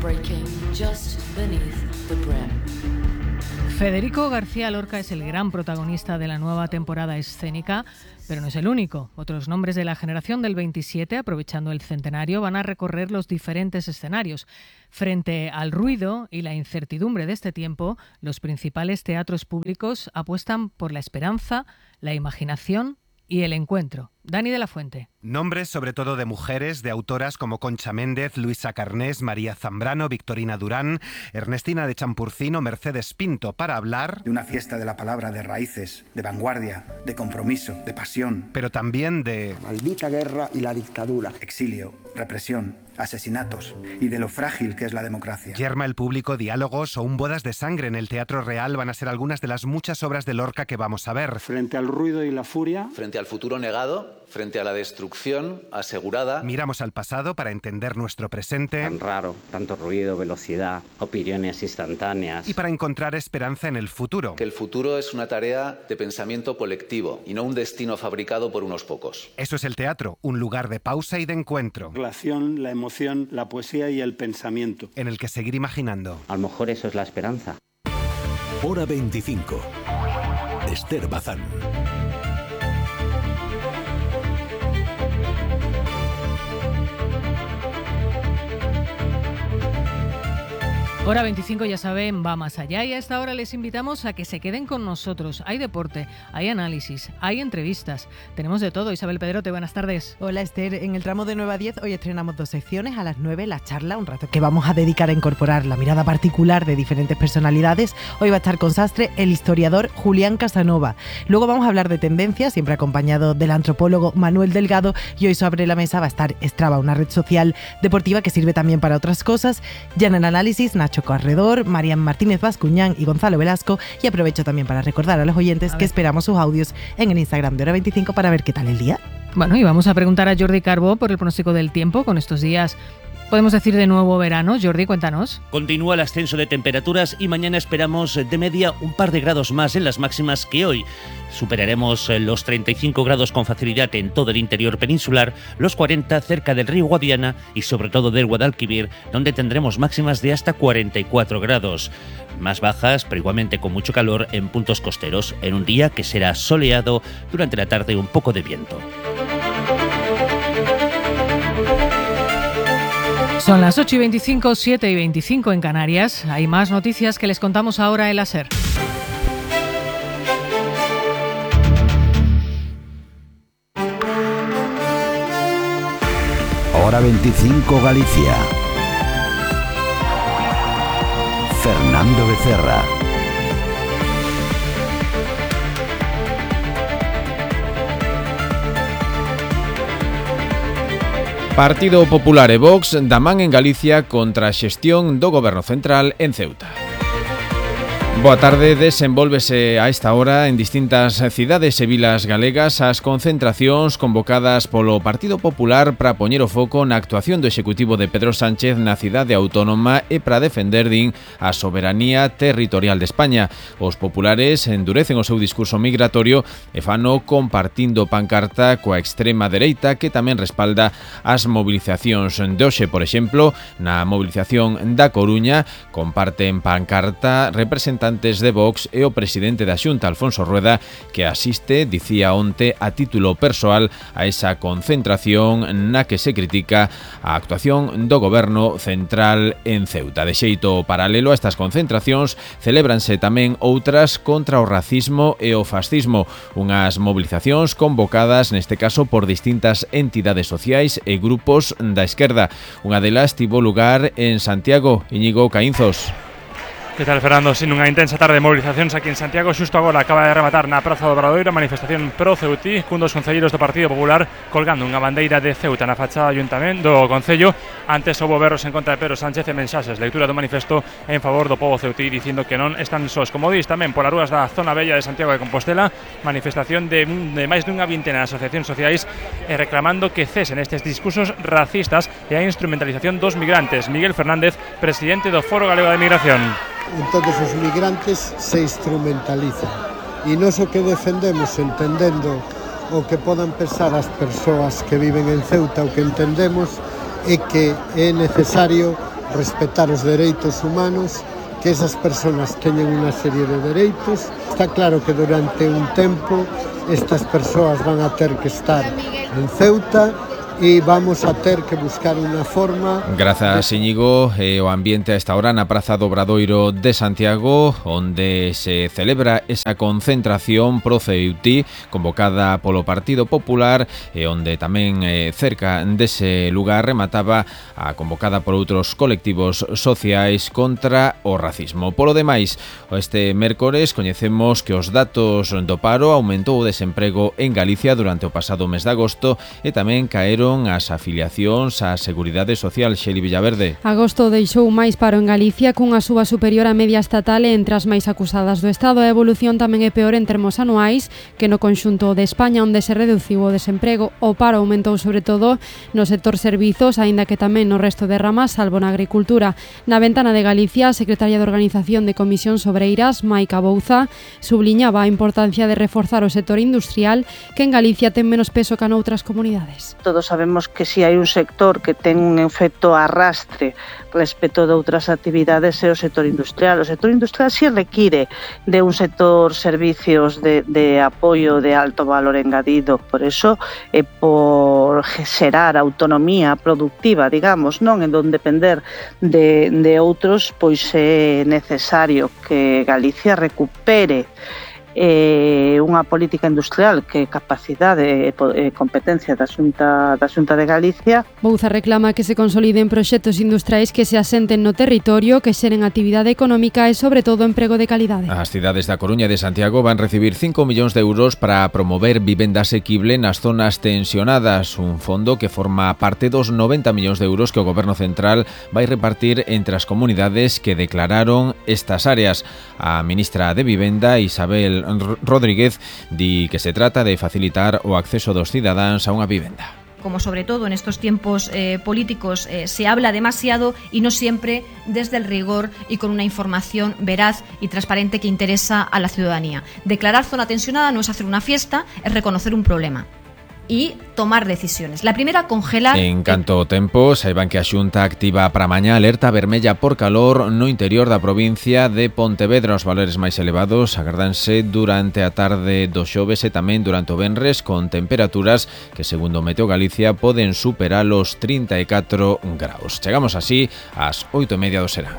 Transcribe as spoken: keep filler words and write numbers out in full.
breaking just beneath the brim. Federico García Lorca es el gran protagonista de la nueva temporada escénica, pero no es el único. Otros nombres de la generación del veintisiete, aprovechando el centenario, van a recorrer los diferentes escenarios. Frente al ruido y la incertidumbre de este tiempo, los principales teatros públicos apuestan por la esperanza, la imaginación y el encuentro. Dani de la Fuente. Nombres sobre todo de mujeres, de autoras como Concha Méndez, Luisa Carnés, María Zambrano, Victorina Durán, Ernestina de Champurcino, Mercedes Pinto, para hablar de una fiesta de la palabra, de raíces, de vanguardia, de compromiso, de pasión. Pero también de maldita guerra y la dictadura. Exilio, represión, asesinatos y de lo frágil que es la democracia. Yerma el público, diálogos o un bodas de sangre en el Teatro Real van a ser algunas de las muchas obras de Lorca que vamos a ver. Frente al ruido y la furia. Frente al futuro negado. Frente a la destrucción asegurada. Miramos al pasado para entender nuestro presente. Tan raro, tanto ruido, velocidad, opiniones instantáneas. Y para encontrar esperanza en el futuro. Que el futuro es una tarea de pensamiento colectivo y no un destino fabricado por unos pocos. Eso es el teatro, un lugar de pausa y de encuentro. La relación, la emoción, la poesía y el pensamiento. En el que seguir imaginando. A lo mejor eso es la esperanza. Hora veinticinco. Esther Bazán. Hora veinticinco, ya saben, va más allá y a esta hora les invitamos a que se queden con nosotros. Hay deporte, hay análisis, hay entrevistas, tenemos de todo. Isabel Pedrote, buenas tardes. Hola Esther, en el tramo de nueve a diez hoy estrenamos dos secciones. A las nueve la charla, un rato que vamos a dedicar a incorporar la mirada particular de diferentes personalidades. Hoy va a estar con Sastre el historiador Julián Casanova. Luego vamos a hablar de tendencias, siempre acompañado del antropólogo Manuel Delgado, y hoy sobre la mesa va a estar Strava, una red social deportiva que sirve también para otras cosas. Ya en el análisis, Nacho Corredor, Marian Martínez Bascuñán y Gonzalo Velasco. Y aprovecho también para recordar a los oyentes a que esperamos sus audios en el Instagram de Hora veinticinco para ver qué tal el día. Bueno, y vamos a preguntar a Jordi Carbó por el pronóstico del tiempo con estos días. Podemos decir de nuevo verano. Jordi, cuéntanos. Continúa el ascenso de temperaturas y mañana esperamos de media un par de grados más en las máximas que hoy. Superaremos los treinta y cinco grados con facilidad en todo el interior peninsular, los cuarenta cerca del río Guadiana y sobre todo del Guadalquivir, donde tendremos máximas de hasta cuarenta y cuatro grados. Más bajas, pero igualmente con mucho calor en puntos costeros, en un día que será soleado, durante la tarde un poco de viento. Son las ocho y veinticinco, siete y veinticinco en Canarias. Hay más noticias que les contamos ahora en la SER. Hora veinticinco Galicia. Fernando Becerra. Partido Popular e Vox da man en Galicia contra a xestión do Goberno Central en Ceuta. Boa tarde, desenvólvese a esta hora en distintas cidades e vilas galegas as concentracións convocadas polo Partido Popular para poñer o foco na actuación do Executivo de Pedro Sánchez na cidade autónoma e para defender, din, a soberanía territorial de España. Os populares endurecen o seu discurso migratorio e fano compartindo pancarta coa extrema dereita que tamén respalda as movilizacións de hoxe. Por exemplo, na movilización da Coruña comparten pancarta representantes de Vox e o presidente da Xunta, Alfonso Rueda, que asiste, dicía onte, a título persoal a esa concentración na que se critica a actuación do Goberno Central en Ceuta. De xeito paralelo a estas concentracións, celébranse tamén outras contra o racismo e o fascismo, unhas movilizacións convocadas neste caso por distintas entidades sociais e grupos da esquerda. Unha delas tivo lugar en Santiago. Íñigo Caínzos. Que tal, Fernando? Sin unha intensa tarde de movilizacións aquí en Santiago, xusto agora acaba de rematar na Praza do Obradoiro a manifestación pro Ceutí, cun dos concelleiros do Partido Popular colgando unha bandeira de Ceuta na fachada do Ayuntamento do Concello. Antes houbo berros en contra de Pedro Sánchez e mensaxes, lectura do manifesto en favor do pobo ceutí, dicindo que non están sós. Como dis tamén polas rúas da zona bella de Santiago de Compostela, manifestación de, de máis dunha vintena de asociacións sociais e reclamando que cesen estes discursos racistas e a instrumentalización dos migrantes. Miguel Fernández, presidente do Foro Galego de Migración. Entonces os migrantes se instrumentalizan e nós o que defendemos, entendendo o que podan pensar as persoas que viven en Ceuta, o que entendemos é que é necesario respetar os dereitos humanos, que esas persoas teñen unha serie de dereitos. Está claro que durante un tempo estas persoas van a ter que estar en Ceuta e vamos a ter que buscar unha forma. Grazas, Íñigo. E o ambiente a esta hora na Praza do Obradoiro de Santiago, onde se celebra esa concentración pro Ceuti convocada polo Partido Popular e onde tamén eh, cerca dese lugar remataba a convocada por outros colectivos sociais contra o racismo. Polo demais, este mércores coñecemos que os datos do paro aumentou o desemprego en Galicia durante o pasado mes de agosto e tamén caeron as afiliacións á Seguridade Social. Xeli Villaverde. Agosto deixou máis paro en Galicia cunha suba superior á media estatal e entre as máis acusadas do Estado. A evolución tamén é peor en termos anuais que no conxunto de España, onde se reduciu o desemprego. O paro aumentou sobre todo no sector servizos, aínda que tamén no resto de ramas, salvo na agricultura. Na ventana de Galicia, a secretaria de Organización de Comisións Obreiras, Maica Bouza, subliñaba a importancia de reforzar o sector industrial, que en Galicia ten menos peso que noutras comunidades. Todos sabemos que si hai un sector que ten un efecto arrastre respecto de outras actividades é o sector industrial. O sector industrial si require de un sector servicios de, de apoio de alto valor engadido. Por eso, eh, por xerar autonomía productiva, digamos, non en donde depender de, de outros, pois é necesario que Galicia recupere Eh, unha política industrial que é capacidade e eh, competencia da Xunta, da Xunta de Galicia. Bouza reclama que se consoliden proxectos industriais que se asenten no territorio, que xeren actividade económica e, sobre todo, emprego de calidade. As cidades da Coruña e de Santiago van recibir cinco millóns de euros para promover vivenda asequible nas zonas tensionadas, un fondo que forma parte dos noventa millóns de euros que o Goberno Central vai repartir entre as comunidades que declararon estas áreas. A ministra de Vivenda, Isabel Rodríguez, di que se trata de facilitar o acceso dos cidadáns a unha vivenda. Como sobre todo en estos tiempos eh, políticos eh, se habla demasiado y no siempre desde el rigor y con una información veraz y transparente que interesa a la ciudadanía. Declarar zona tensionada no es hacer una fiesta, es reconocer un problema y tomar decisiones. La primera, congelar... En canto ao tempo, saiban que a Xunta activa para mañá alerta vermella por calor no interior da provincia de Pontevedra. Os valores máis elevados agardanse durante a tarde do xoves e tamén durante o venres, con temperaturas que, segundo Meteo Galicia, poden superar os trinta e catro graus. Chegamos así ás oito e media do serán.